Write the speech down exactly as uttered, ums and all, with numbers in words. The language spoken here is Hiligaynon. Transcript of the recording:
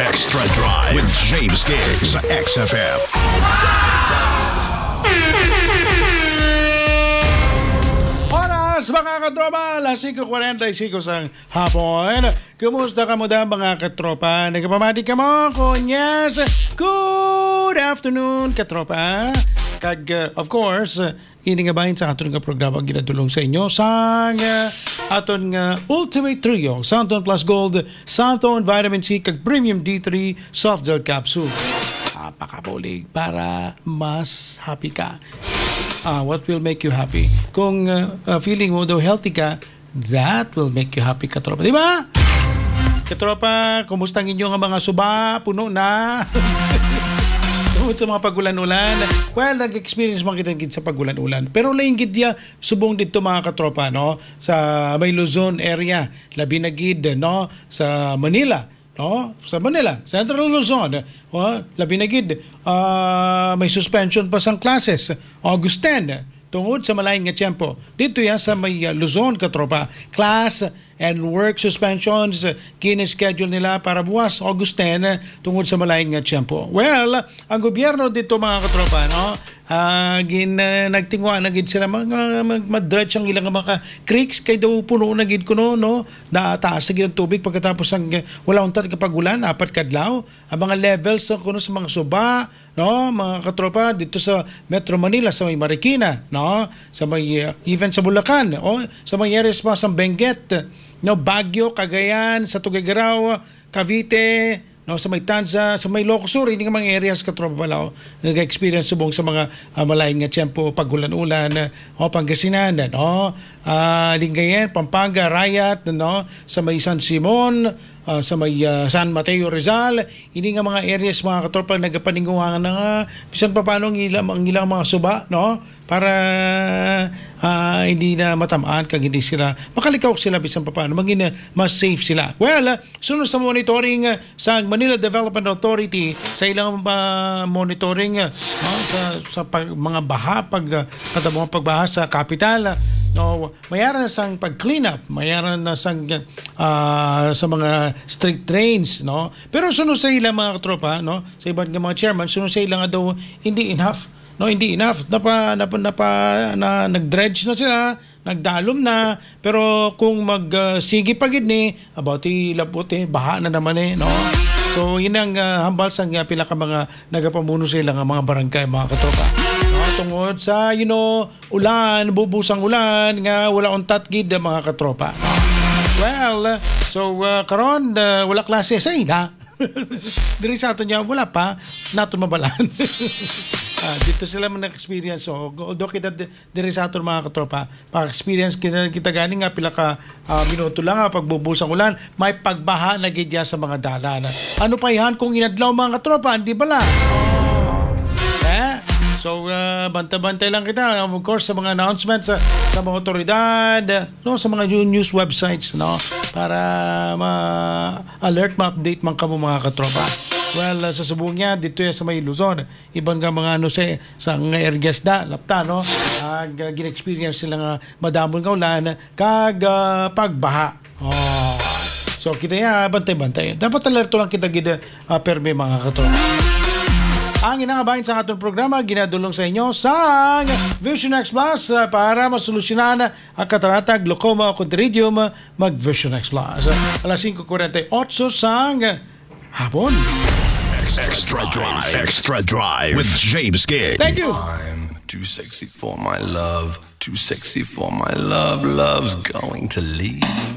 Extra Drive with James Giggs sa X F M. Oras, mga katropa, alas singko kwarenta y singko sang hapon. Kumusta kamo da, mga katropa? Nagapamati kamo? Kung yes, good afternoon, katropa. Kag, uh, of course, uh, ini nga bahin sa aton nga programa ginadulong sa inyo sang, uh, aton nga Ultimate Trio, Santon Plus Gold, Santon Vitamin C, kag Premium D three Soft Gel Capsule. Ah, makabulig para mas happy ka. Ah, what will make you happy? Kung, uh, uh, feeling mo daw healthy ka, that will make you happy, katropa. Di ba? Katropa, kumusta ang inyo nga mga suba? Puno na. Tungod sa mga pagulan-ulan. Well, nag-experience man kita gid sa pagulan-ulan. Pero lain gid ya subong dito, mga katropa, no? Sa may Luzon area, labi na gid, no? Sa Manila, no? Sa Manila, Central Luzon, oh, labi na gid, ah, may suspension pa sang classes, August ten, tungod sa malain nga tiyempo. Dito yan sa may, ah, Luzon, katropa. Class and work suspensions, ah, kini-schedule nila para buwas, August ten, ah, tungod sa malain nga tiyempo. Well, ang gobyerno dito, mga katropa, no? Ah, gin, ah, nagtingwa na gid sila, mga, mag-, madredge ang ilang mga creeks, kay daw puno na gid kuno, no? Nataas na gid ang tubig pagkatapos ang, ah, wala untat ka pag-ulan, apat kadlaw. Ang mga levels, no, kuno sa mga suba, no, mga katropa, dito sa Metro Manila, sa may Marikina, no, sa may, ah, even sa Bulacan, o sa may areas pa sa Benguet, no, Baguio, Cagayan, sa Tuguegarao, Cavite, no, sa may Tanza, sa may Ilocos Sur, ini nga mga areas, katropa, pala, oh, nag-experience subong sa mga, ah, malain nga tiyempo, pag-ulan-ulan, ah, o Pangasinan, no, ah, Lingayen, Pampanga, Rayat, no, sa may San Simon, ah, sa may, ah, San Mateo, Rizal, ini nga mga areas, mga katropa, nagapaninguha na nga, bisan pa paano ang ilang, ang ilang mga suba, no, para, ah, hindi na matamaan kag hindi sila, makalikaw sila bisan pa paano, maging, ah, mas safe sila. Well, ah, Sunod sa monitoring, ah, sa Manila Development Authority, sa ilang, ah, monitoring, ah, no, sa, sa pag-, mga baha, pag, ah, kada mga pagbaha sa kapital, ah, no, mayara na sang pag-clean up, mayara na sang, ah, sa mga street drains, no. Pero sunod sa ilang mga katropa, no, sa iban nga mga chairman, sunod sa ilang nga daw hindi enough, no, hindi enough. Napa, napa, napa, na, nag-dredge na sila, nagdalom na, pero kung mag, ah, sige pa gid ni, about ilabot eh, baha na naman eh, no? So, yun ang, ah, hambal sang, ah, pila ka mga nagapamuno sa ila nga mga barangay, mga katropa. No? Tungod sa, you know, ulan, bubusang ulan, nga wala untat gid, ah, mga katropa. No? Well, so, ah, karon, ah, wala klase sa ila. Diri sa aton niya, wala pa naton mabalaan. Ah, dito sila man nag-experience. So, although kita di-, diri sa aton mga katropa, pa-experience kita, kita gani nga pila ka, ah, minuto lang, ah, pagbubo sang ulan, may pagbaha na gid ya sa mga dalan. Ano pa ihan kung inadlaw, mga katropa, hindi bala? Eh? So, ah, bantay-bantay lang kita, of course, sa mga announcements, ah, sa mga otoridad, no, sa mga new-, news websites, no, para ma-alert, ma-update man kamo, mga katropa. Well, ah, sa subong niya, dito ya sa may Luzon, iban nga mga, ano, sa, sa nga areas da, lapta, no, ag, ah, gin-experience sila nga madamon nga ulan, kag, ah, pagbaha. Oh. So, kita ya, bantay-bantay. Dapat alerto lang kita gid, ah, permi, mga katropa. Ang inangabahin sa aton programa, ginadulong sa inyo sang Vision X Plus, ah, para masolusyonan ang katarata, glaucoma o contairidium, mag Vision X Plus. Alas singko kwarenta y ocho sang hapon. Extra Drive. Extra Drive with James Giggs. Thank you. I'm too sexy for my love. Too sexy for my love. Love's going to leave me.